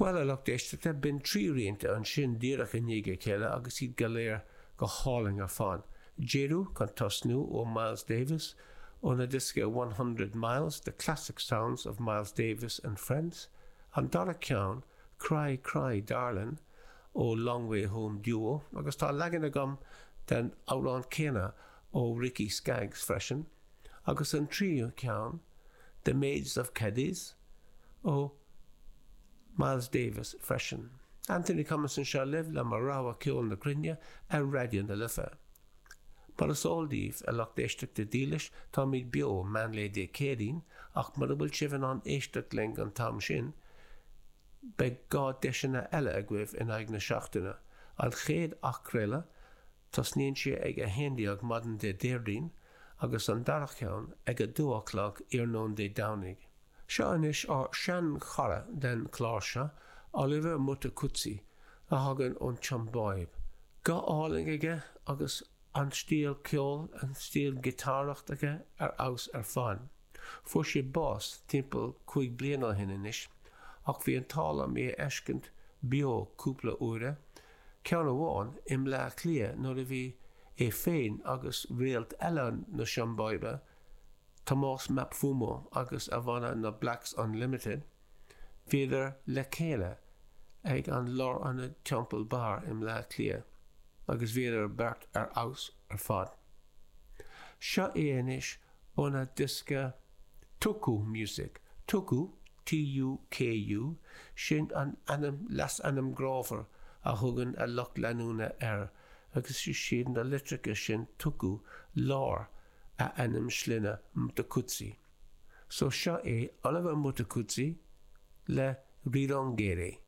Bhuel, a lucht éisteachta, b'in 3 rianta ansin díreach i ndiaidh a chéile agus iad go léir go hálainn ar fad. Jeru chun tosnú ó Miles Davis óna diosca 100 Miles, The Classic Sounds of Miles Davis and Friends, an dara ceann Cry Cry Darlin' ó Long Way Home Duo agus tá leagan agam den amhrán céanna ó Ricky Skaggs freisin, agus an tríú ceann The Maids of Cadiz ó Miles Davis freisin. Anthony Cummins anseo libh le mo rogha ceol na cruinne ar Raidió na Life. Mar is eol daoibh, a lucht éisteachta dílis, táimid beo meánlae Dé Céadaoin ach mura bhfuil sibh in ann éisteacht linn an t-am sin, beidh 2 deiseanna eile agaibh in aghaidh na seachtaine, an chéad athchraoladh, Tosnaíonn sé ag 11 maidin Dé Déardaoin agus an dara ceann ag 2 a chlog iarnóin Dé Domhnaigh. Seo anois ár sean-chara den chlár seo, Oliver Mtukudzi, a thagann ón tSiombáib. Guth álainn aige agus an stíl ceoil, an stíl giotáracht aige ar fheabhas ar fad. Fuair sé bás timpeall 5 bliana ó shin anois ach bhí an t-ádh liom é a fheiscint beo cúpla uaire Ceann amháin i mBleá Cliath nuair a bhí é féin agus réalt eile na Siombáibe, Tomás Mapfumo agus a bhanna na Blacks Unlimited, bhíodar le chéile ag an Lárionad Temple Bar i mBleá Cliath agus bhíodar beirt ar fheabhas ar fad. Seo é anois óna diosca Tuku Music, Tuku, T-U-K-U, sin an ainm, leasainm grámhar a thugann a lucht leanúna air agus is iad na litreacha sin Tuku lár a ainm sloinne Mtukudzi. So seo é Oliver Mtukudzi le Rirongere.